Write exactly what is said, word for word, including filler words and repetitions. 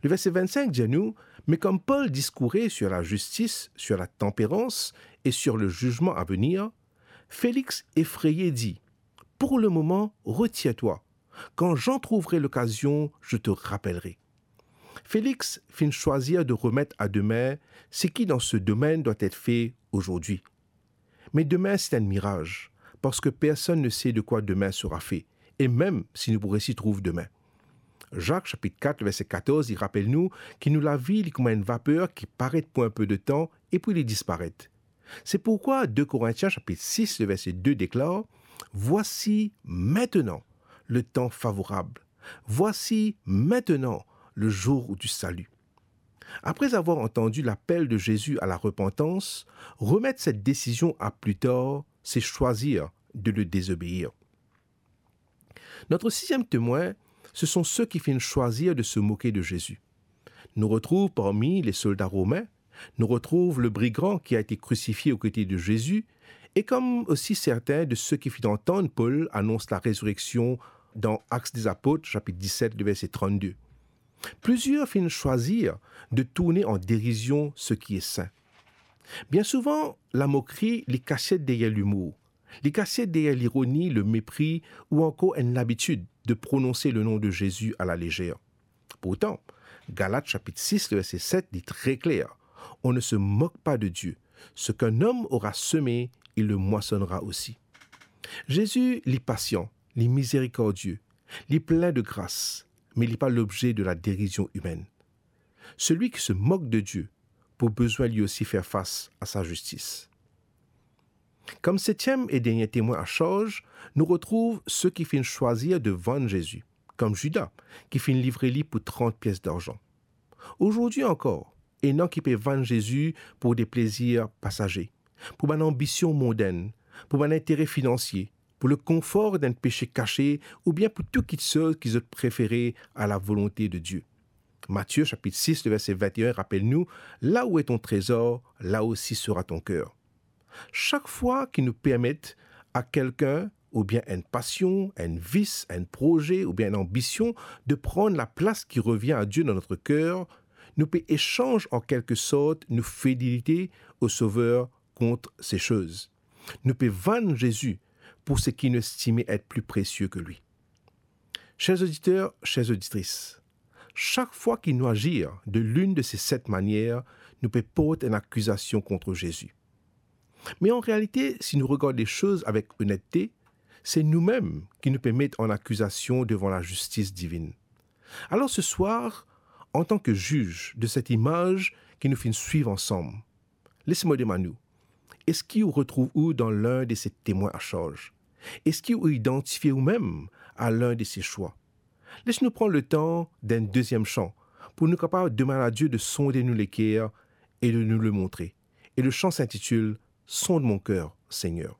Le verset vingt-cinq dit à nous, mais comme Paul discourait sur la justice, sur la tempérance et sur le jugement à venir, Félix effrayé dit, pour le moment, retire-toi. Quand j'en trouverai l'occasion, je te rappellerai. Félix finn swazir de remet a dime seki dan se domenn dwa et fe azordi. Me dime se enn miraz, parski personn ne se de kwa dime sera fe, e mem si nou pou resi trouv dime. Zak sapit kat, verse katorz, li rapel nou ki nou lavi li kouma enn vaper ki paret pou enn pe de tan e pi li disparet. Se pourkwa de Korintien sapit sis, le verse de deklar, voici maintenant le temps favorable. Voici maintenant le jour du salut. Après avoir entendu l'appel de Jésus à la repentance, remettre cette décision à plus tard, c'est choisir de le désobéir. Notre sixième témoin, ce sont ceux qui finissent choisir de se moquer de Jésus. Nous retrouvons parmi les soldats romains, nous retrouvons le brigand qui a été crucifié aux côtés de Jésus, et comme aussi certains de ceux qui firent entendre Paul annonce la résurrection dans Actes des Apôtres, chapitre dix-sept, le verset trente-deux. Plusieurs finissent choisir de tourner en dérision ce qui est saint. Bien souvent, la moquerie li kasiet deryer limour, li kasiet deryer lironi, le mépris ou encore une habitude de prononcer le nom de Jésus à la légère. Pourtant, Galates chapitre six, le verset sept dit très clair, on ne se moque pas de Dieu. Ce qu'un homme aura semé, il le moissonnera aussi. Jésus, li pasian, li mizerikordie, li plin de gras, me li pa lobze de la dérision humaine. Celui qui se moque de Dieu pou bizin li osi fer fas a sa zistis. Kom setiem e dernie temwin a sarz, nou retrouv seki finn swazir de vann Zezi, kom Zida, ki finn livre li pou trant pies darzan. Azordi ankor, ena ki pe vann Zezi pou de plezir pasaze, pou bann anbision mondenn, pou bann intere finansie, pou lekonfor d'enn pese kase, oubien pou tou kitsoz ki zot prefere a lavolonte de Die. Matie sapit sis, le verse vinteen rapel nou, "Là où est ton trésor, là aussi sera ton cœur." Sak fwa ki nou permet a kelkenn, oubien enn pasion, enn vis, enn proze, oubien enn anbision, de pran laplas ki revien a Die dan nou ker, nou pe esanz an kelke sort nou fidelite o Sover kont se soz. Nou pe vann Zezi pou seki nou estime et pli presie ki li. Cher oditer, cher oditris, sak fwa ki nou azir de linn de se set manier, nou pe port enn akizasion kont Zezi. Me an realite, si nou regard lesoz avek onette, se noumem ki nou pe met an akizasion devan lazistis divinn. Alor se swar, antan ki ziz de set imaz ki nou finn swiv ansam, les mo demann ou, eski ou retrouv ou dan linn de se temwin a sarz? Eski ou idantifie oumem a linn de se swa? Les nou pran letan d'enn deziem san pou nou kapav demann a Die de sonde nou leker e de nou le montre. E le san intitil Sonde mon cœur, Seigneur.